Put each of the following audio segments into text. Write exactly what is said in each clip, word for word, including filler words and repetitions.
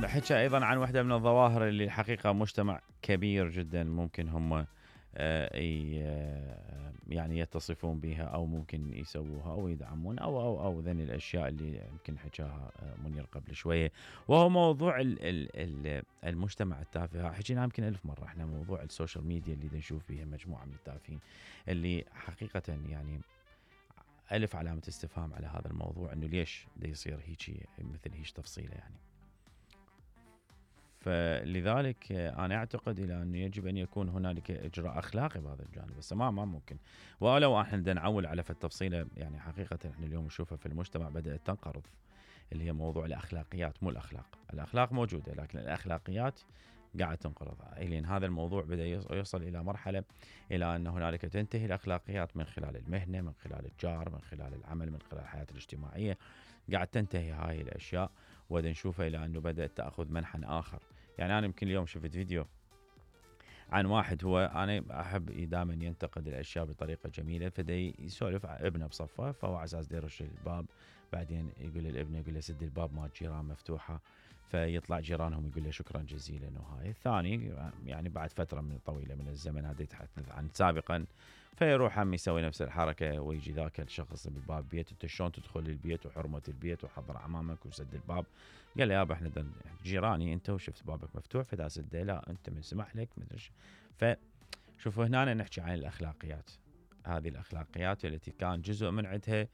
حكى أيضا عن واحدة من الظواهر اللي الحقيقة مجتمع كبير جدا ممكن هم يعني يتصفون بها أو ممكن يسووها أو يدعمون أو أو أو ذن الأشياء اللي يمكن حكاها منير قبل شوية، وهو موضوع المجتمع التافه. حكينا يمكن ألف مرة احنا موضوع السوشيال ميديا اللي نشوف فيها مجموعة من التافهين اللي حقيقة يعني ألف علامة استفهام على هذا الموضوع، إنه ليش دا يصير هيجي مثل هيش تفصيلة يعني. فلذلك أنا أعتقد إلى أنه يجب أن يكون هنالك إجراء أخلاقي بهذا الجانب، بس ما ما ممكن. ولو احنا بدنا نعول على التفصيلة يعني حقيقة احنا اليوم نشوفها في المجتمع بدأت تنقرض، اللي هي موضوع الأخلاقيات، مو الأخلاق. الأخلاق موجودة لكن الأخلاقيات قاعد تنقرض. لأن هذا الموضوع بدأ يوصل إلى مرحلة إلى أن هنالك تنتهي الأخلاقيات من خلال المهنة، من خلال الجار، من خلال العمل، من خلال الحياة الاجتماعية. قاعد تنتهي هاي الأشياء ودا نشوفها إلى أنه بدأت تأخذ منحى آخر. يعني أنا يمكن اليوم شفت فيديو عن واحد، هو أنا أحب دائما ينتقد الأشياء بطريقة جميلة، فدي يسولف ابنه بصفه، فهو على أساس يرش الباب، بعدين يقول للابن يقول له سد الباب ما الجيران مفتوحة، فيطلع جيرانهم يقول له شكرا جزيلا. وهاي الثاني يعني بعد فترة من طويلة من الزمن، هذا يتحدث عن سابقا، فيروح هم يسوي نفس الحركة ويجي ذاك الشخص بالباب بيت، انت شلون تدخل البيت وحرمة البيت وحضر امامك وسد الباب؟ قال له يابا احنا جيراني انت وشفت بابك مفتوح فدا سده، لا انت من سمح لك مدري. فشوفوا هنا نحكي عن الاخلاقيات، هذه الاخلاقيات التي كان جزء من عندها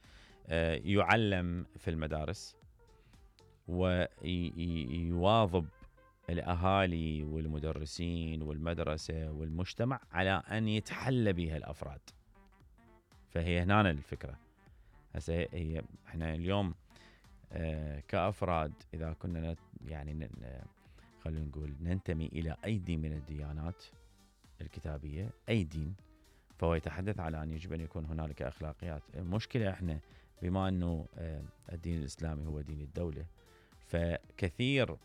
يعلم في المدارس ويواظب الأهالي والمدرسين والمدرسة والمجتمع على أن يتحلى بها الأفراد. فهي هنا الفكرة. هسه هي احنا اليوم اه كأفراد إذا كنا يعني خلينا نقول ننتمي إلى أي دين من الديانات الكتابية، أي دين، فهو يتحدث على أن يجب أن يكون هنالك أخلاقيات. المشكلة احنا بما أنه اه الدين الإسلامي هو دين الدولة، فكثير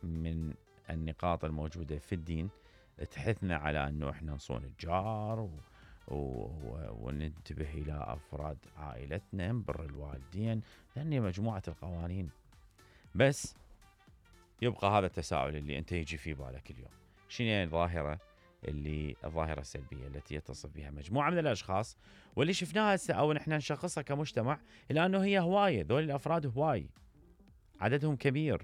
من النقاط الموجودة في الدين تحثنا على أنه إحنا نصون الجار و... و... وننتبه إلى أفراد عائلتنا، نبر الوالدين، لأن مجموعة القوانين. بس يبقى هذا التساؤل اللي أنت يجي في بالك اليوم، شنو هي الظاهرة اللي الظاهرة السلبية التي يتصف بها مجموعة من الأشخاص واللي شفناها أو نحن نشخصها كمجتمع، لأنه هي هواية، ذول الأفراد هواي عددهم كبير،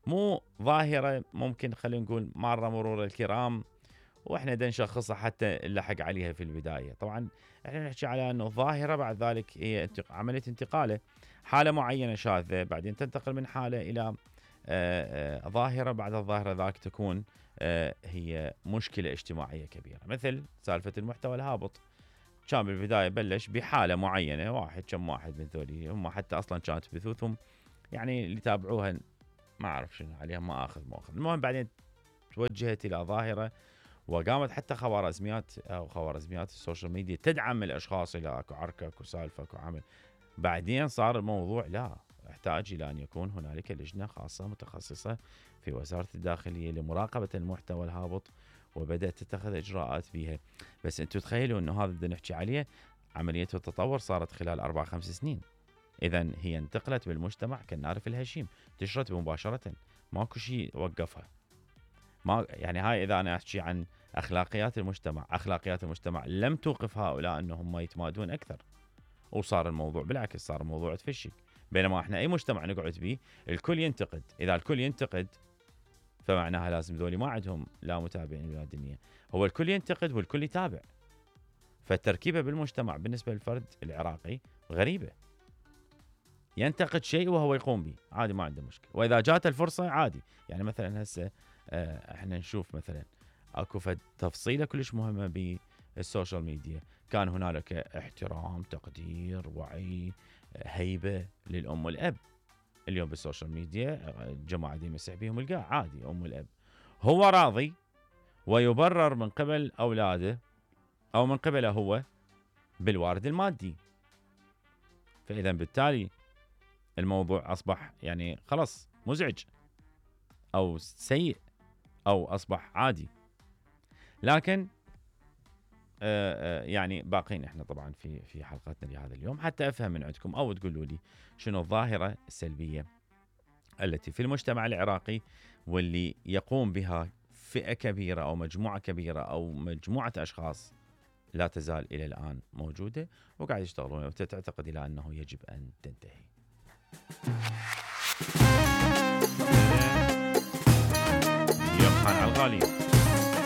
مو ظاهرة ممكن خلينا نقول مرة مرور الكرام واحنا دا نشخصها حتى نلحق عليها في البداية. طبعا احنا نحكي على انه ظاهرة بعد ذلك هي عملية انتقاله، حالة معينة شاذة بعدين تنتقل من حالة الى آآ آآ ظاهرة، بعد الظاهرة ذاك تكون هي مشكلة اجتماعية كبيرة. مثل سالفة المحتوى الهابط، كان بالبداية بلش بحالة معينة، واحد كم واحد من ذولي هم حتى اصلا كانت بثوثهم يعني اللي تابعوها ما أعرف شنو عليهم، ما أخذ ما أخذ. المهم بعدين توجهت إلى ظاهرة وقامت حتى خوارزميات أو خوارزميات السوشيال ميديا تدعم الأشخاص إلى أكو عركة أكو سالفة أكو عمل. بعدين صار الموضوع لا، احتاج إلى أن يكون هنالك لجنة خاصة متخصصة في وزارة الداخلية لمراقبة المحتوى الهابط، وبدأت تتخذ إجراءات بها. بس أنتم تخيلوا أنه هذا بدنا نحكي عليه عملية التطور صارت خلال أربع خمس سنين، إذن هي انتقلت بالمجتمع كالنار في الهشيم، انتشرت مباشرة، ماكو شيء وقفها. ما يعني هاي إذا أنا أحكي عن أخلاقيات المجتمع، أخلاقيات المجتمع لم توقف هؤلاء أنهم يتمادون أكثر، وصار الموضوع بالعكس، صار الموضوع تفشي. بينما احنا أي مجتمع نقعد به الكل ينتقد، إذا الكل ينتقد فمعناها لازم ذولي ما عندهم لا متابعين ولا دنيا، هو الكل ينتقد والكل يتابع. فالتركيبة بالمجتمع بالنسبة للفرد العراقي غريبة، ينتقد شيء وهو يقوم به عادي ما عنده مشكلة، وإذا جات الفرصة عادي. يعني مثلا هسه احنا نشوف مثلا اكو فد تفصيلة كلش مهمة بالسوشيال ميديا، كان هنالك احترام، تقدير، وعي، هيبة للأم والأب. اليوم بالسوشيال ميديا الجماعة دي مسح بيهم القاع عادي، أم والأب هو راضي ويبرر من قبل أولاده أو من قبله هو بالوارد المادي. فإذا بالتالي الموضوع أصبح يعني خلاص مزعج أو سيء أو أصبح عادي. لكن آآ آآ يعني باقين إحنا طبعا في في حلقتنا لهذا اليوم حتى أفهم من عندكم أو تقولوا لي شنو الظاهرة السلبية التي في المجتمع العراقي واللي يقوم بها فئة كبيرة أو مجموعة كبيرة أو مجموعة أشخاص لا تزال إلى الآن موجودة وقاعد يشتغلون، وتعتقد إلى أنه يجب أن تنتهي. يوم خان على الغالي.